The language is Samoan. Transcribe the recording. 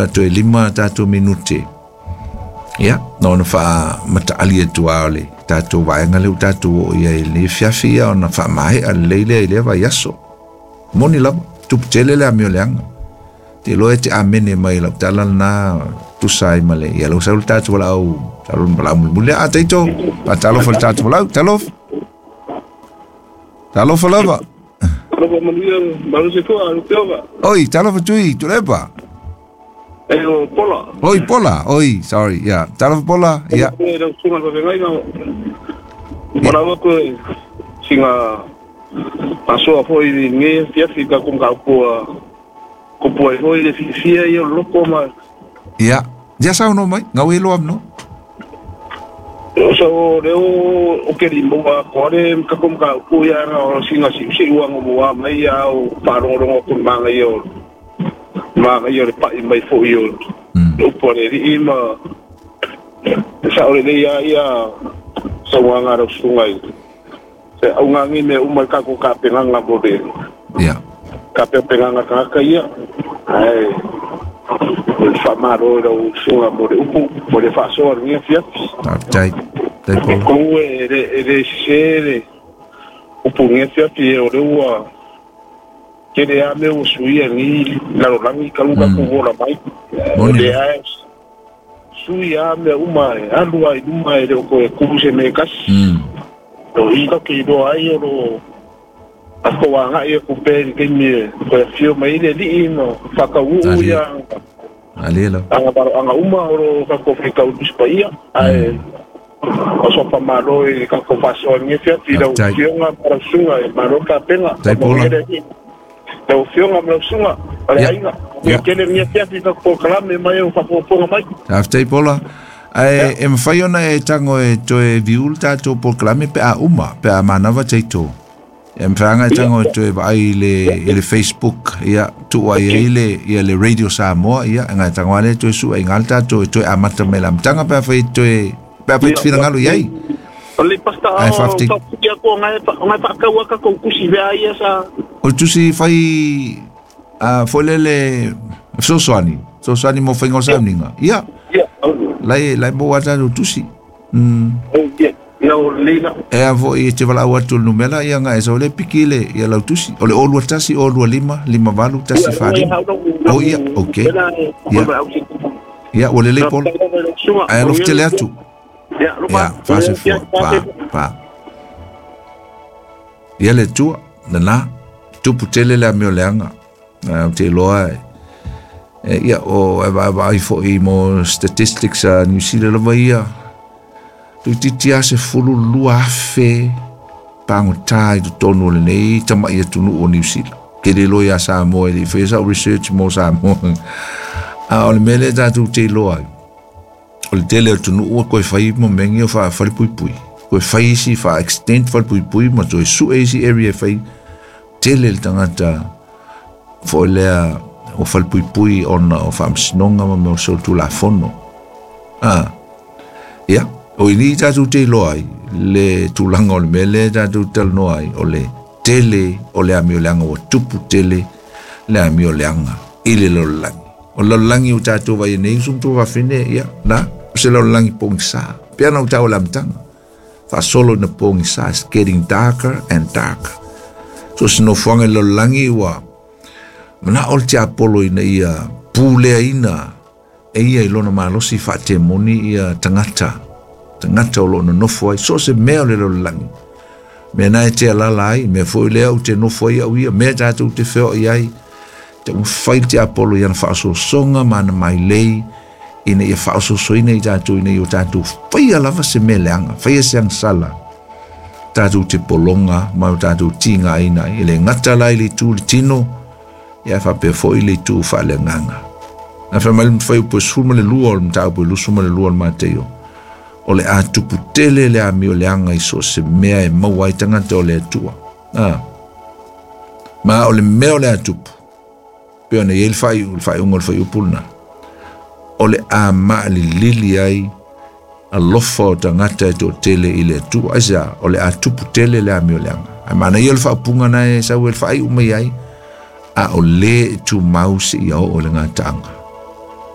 Toe 5 tatou minute. Ia, na ona faamataali atu lava o le tatou vaega lea ua tatou oo i ai i lenei afiafi, ia ona faamaea lelei lea i lea vaiaso. Moni lava, tupu tele le amio leaga. Te iloa e te amene mai i lau tala lena tusa ai ma le, ia lau sau le tatou valaau, sau le valaau mulimuli. A Taito, faatalofa i le tatou valaau, talofa. Talofa lava. Talofa manuia, malosi fua, Lupeova. Oi, talofa Tui, Tuilaepa. E o Pola. Oi, Pola. Oi, sorry. Yeah. Talofa Pola. Yeah. E lau sunga le vavengaina. Wala wako e singa asoa foi i nge fiafi ka kumka upua kupua i foi le fifia i o loko ma. Yeah. Ia sau no mai, ngau e loa no. So leo o ke limua ko le ka kumka upua ia nga o singa si si uanga mua mai ia o wharongorongo kun manga i o manga i o le pai mai foi o upo le ri ma sa o le ia ia sa wanga ro sungai se au ngangi me uma ka ko ka penganga mo le ia ka pe penganga ka ka ia ai o le whamaro ro sunga mo le upu mo le whasoa ngia fiat tai tai po ko e le se le upu ngia fiat e o le ua ke le a me o suia ni la rolangi ka luka ko vola mai o le a suia me uma e alua i luma e le o koe kuru se me kasi o i ka ke roa ai o ro a ko wanga i ku pe ke mi ko fio mai le li no whakauu ia alela anga baro anga uma o ro ka ko ka u ai o so pa malo e ka ko faso ngi fia ti ro fionga para sunga e maro ka penga tai pola o fionga maro sunga ale ainga e kele ngi fia ti ka ko kalame mai o whakaponga mai tai pola. Ai e mawhai ona e tango e toe viul tātou polokalame pe a uma, pe a manawa teito. E mwhanga e tango e toe vaai i le Facebook, ia, tua ia i le, ia le Radio Samoa, ia, ngai tango ale toe sua i ngal tātou e toe amata me la mtanga pe a whai toe, pe a whai te whirangalo iai. O le pasta o whawhiti ako ngai whakaua ka koukusi vea ia sa. O tusi whai, whailele, sosoani, sosoani mo whainga o sauninga, ia. Lai lai mo ata no tusi. E a foi e te wala atu le numera ia nga e so le piki le ia lau tusi. O le olua tasi olua lima lima valu tasi whare. O ia, okay. Ia. Ia, o le le polo. Ai alof tele atu. Ia, whase fua, pa, pa. Ia le tua, nana, tupu tele le amio leanga. Te loa e. Ia, o e vai foi mo statistics a New Zealand lava ia. Tuititi a se fulu lua afe pangota i totonu o lenei tamai atunuu o New Zealand. Ke le loa ia Samoa i le whai sau research mo Samoa. A o le mea lea tatou te iloa ai. O le tele o tunuu koe whai mo mengi o wha whalepuipui. Koe whai isi wha extend whalepuipui ma toe sue isi area whai tele le tangata foi lea o whalepuipui ona o whaamsinonga ma mea o solitulafono. Ah, ia, o ini tātou te iloa ai, le tulaga o le mea lea tātou talanoa ai, o le tele o le amio leaga ua tupu tele le amio leaga i le lalolagi. O le lalolagi o tātou vai nei usu matou fafine, ia, na, o se lalolagi pogisa. Pea na o tau o le amataga. Faasolo ina pogisa, it's getting darker and darker. So se nofoaga i le lalolagi ua mana o le tiapolo ina ia puleaina e ia i lona malosi faatemoni ia tagata tagata o loo nonofo ai so se mea o le lalolagi mea na e te alala ai mea foi lea ou te nofo ai au ia mea tatou te feoai ai te mafai le tiapolo i ana faasoasoga ma ana mailei ina ia faasoasoaina i tatou ina ia o tatou faia lava se mea leaga faia se agasala tatou te pologa ma o tatou tigaina ai e le gata la i le itu le tino ia whapea foi le itu whaaleagaga. Na whai mai mwhai upo sefulu ma le lua o le mataupu e 22 o le Mateio. O le a tupu tele le amio leaga i so se mea e maua ai tagata o le Atua. Ah. Ma o le mea o le a tupu. Pe ona i ai le whaiu, le whaiunga o le whaiupu lena. O le a maalilili ai alofa o tagata e toatele i le Atua. Aisea, o le a tupu tele le amio leaga. Ai maana ia o le whaapunga na e sau e le whaaiu mai ai, a o le e tumau se ia o le ngataanga.